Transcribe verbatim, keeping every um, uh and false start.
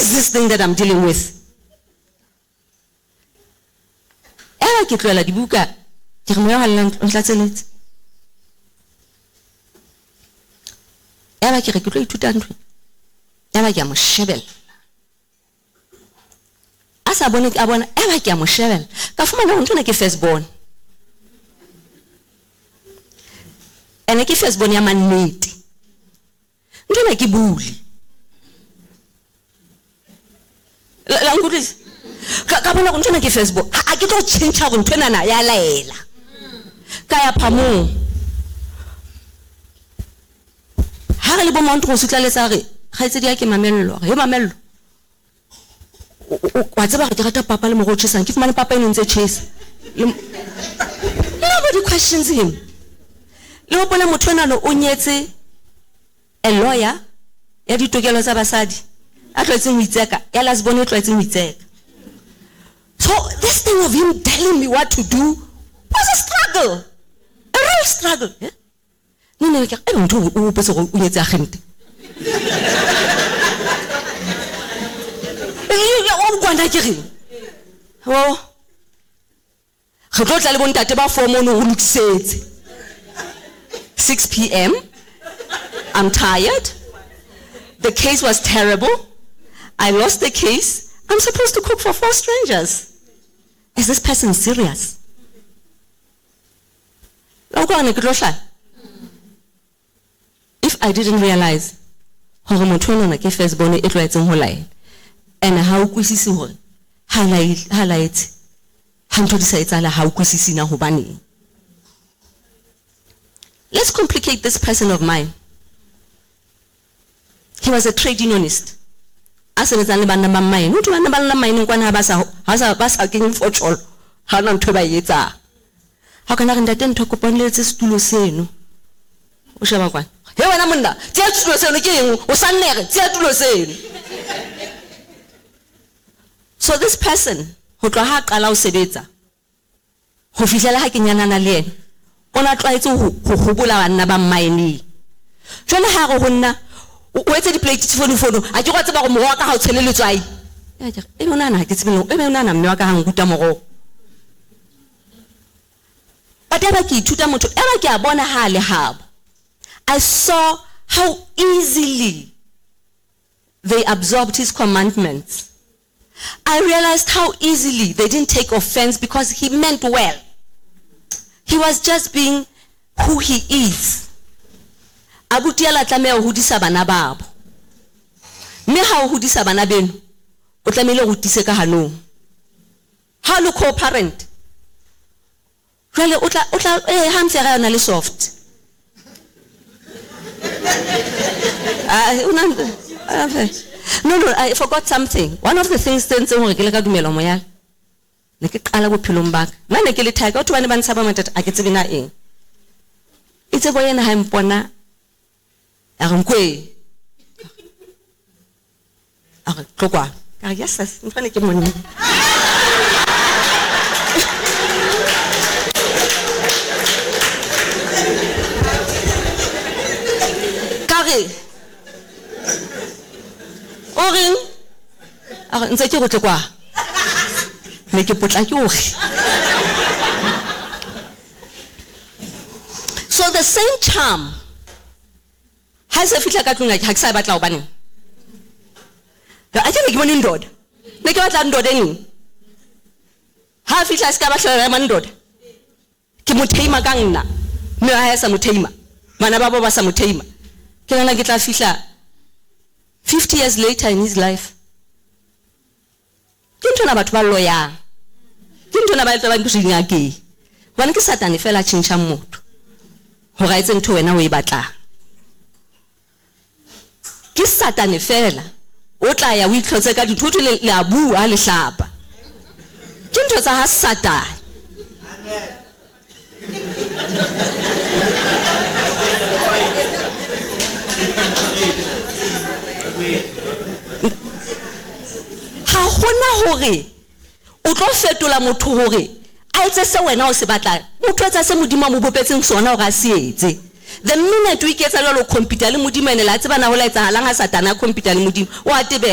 is this thing that I'm dealing with? Eba ke tlohela dibuka, ke re moya wa halalelang o ntlatseletse. Eba ke re ke tlo ithuta ntho. Eba ke a mo shebella. A sa bone a bona, eba ke a mo shebella. Ka fumana hore ntho ena ke first born. Ene ke first born ya mannete. Ntho ena ke bule. La, la nkutlwisa? Ka, ka bona hore ntho ena ke first born. Ha, ha ke tlo tjhentjha hore ntho enana ya laela. Ka ya phamong. Ha re le bo Mount Rose tla letsa re, kgaitsedi ya ke Mamello. He Mamello. O, o, o, wa tseba hore ke rata papa le moroho o tjhesang. Ke fumane papa eno ntse tjhesa. Le m-, nobody questions him. Le hopola motho enwa o nyetse a lawyer ya ditokelo tsa basadi. A tlwaetseng ho itseka, ya last born e tlwaetseng ho itseka. So this thing of him telling me what to do was a struggle. A real struggle. Eh? No, no, ke re, eh, motho o hopotse hore o nyetse agente. O kwana ke reng? Oh. Re tlo tla le bontate ba four mono ho lokisetse. six P M. I'm tired. The case was terrible. I lost the case. I'm supposed to cook for four strangers. Is this person serious? La utlwa hore ne ke tlo hlaya? If I didn't realize hore motho enwana ke first born e tlwaetseng ho laela, and ha o utlwisise hore ha lae-, ha laetse, ha ntho di sa etsahala, ha o utlwisise na hobaneng. Let's complicate this person of mine. He was a trade unionist. A sebetsang le banna ba mine. Ho thwe banna ba nna mine kwana ha ba sa, ha sa, ba sa kenye fotjholo, ha hona ntho e ba e etsang. Ha o kana re ntate ntho kopane le etse setulo seno. O sheba kwana. He wena monna, tseya setulo seno ke eng? O sa nnere, tseya tulo seno. So this person, ho tloha ha qala ho sebetsa, ho fihlela ha ke nyanana le yena, o na tlwaetse ho, ho hobola banna ba mmineng. Jwale ha re ho nna, o, o etse di-plate fonofono, a ke wa tseba hore moroho wa ka ha o tshele letswai. Ya ke re, ebe o nahana ha ke tsebe le hore, ebe o nahana mme wa ka ha nruta moroho. But eba ke ithuta motho, eba ke a bona ha le habo. I saw how easily they absorbed his commandments. I realized how easily they didn't take offense because he meant well. He was just being who he is. Abuti a la tlameha ho hodisa bana babo. Mme ha o hodisa bana beno, o tlamehile ho tiise ka hanong. Ha o le co-parent, jwale o tla, o tla, eh, ha ntse re na le soft. Ah, o na, ah, no, no, I forgot something. One of the things tse ntseng hore ke le ka dumela moya, ne ke qala bophelong ba ka. Nna ne ke le thaka, batho ba ne ba ntshaba mathata, a ke tsebe na eng. Itse bo yena ha mpona, a re nkwe. A re, tlo kwano. Ka re, yes, yes, ntho ene ke monna. Ka re, o reng? A re, ntse ke go tle kwa. Ne ke potlake hore. So the same charm ha se fihla ka tlung ya ka, ha ke sa e batla hobaneng. A ke ne ke bone ndoda. Ne ke batla ndoda eng? Ha fihla se ka batla ya ndoda. Ke mo theima ka nna. Mme ha ya sa mo theima. Bana ba bo ba sa mo theima. Ke nna ke tla fihla fifty years later in his life. Ke ntho ena batho ba loyang. Ke ntho ena ba etsa ba ntho dingakeng. Hobane ke Satane fela a tjhentjhang motho. Hore a etse ntho wena o e batlang. Ke Satane fela o tla ya o itlhotse ka dithoto le, le a bua le hlapa. Ke ntho tsa ha Satane. Amen. Ha hona hore o tlo fetola motho hore a etse se wena o se batlang. Motho etsa se Modimo a mo bopetseng sona hore a se etse. The minute o iketsa jwalo, o compete le Modimo, ene la tseba na ho la etsahalang ha Satane a compete le Modimo, o a tebela.